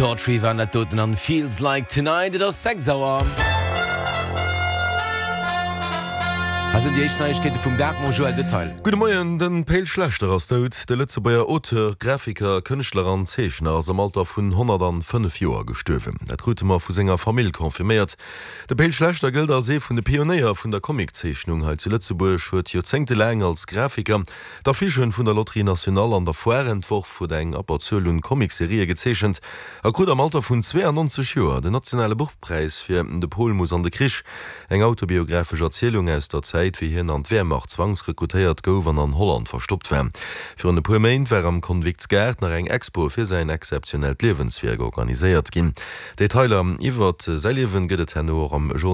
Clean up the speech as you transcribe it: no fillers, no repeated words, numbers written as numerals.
Daughtry waren dat doten an Feels Like Tonight. Et ass 6 Auer. Hei sinn déi éischt Neiegkeete vum Dag mam Joël Detail. Gudde Moien, De Pe'l Schlechter ass dout. De Lëtzebuerger Auteur, Grafiker, Kënschtler an Zeechner ass am Alter vun 105 Joer gestuerwen. Dat krute mer vu senger Famill confirméiert. De Pe'l Schlechter gëllt als ee vun de Pionéier vun der Comiczeechnung hei zu Lëtzebuerg, huet joerzéngtelaang als Grafiker D'Affichen vun der Loterie Nationale an der Foire entworf, huet eng Abberzuel un Comicserië gezeechent a krut am Alter vun 92 Joer den nationale Buchpräis fir De Pol muss an de Krich, eng autobiographesch Erzielung aus der Zäit, wéi hien an d'Wehrmacht zwangsrekrutéiert gouf an an Holland verstoppt war. Virun e puer Méint war am Konviktsgaart nach eng Expo fir säin exzeptionellt Liewenswierk organiséiert ginn. Detailer iwwert säi Liewen gëtt et herno och am Journal.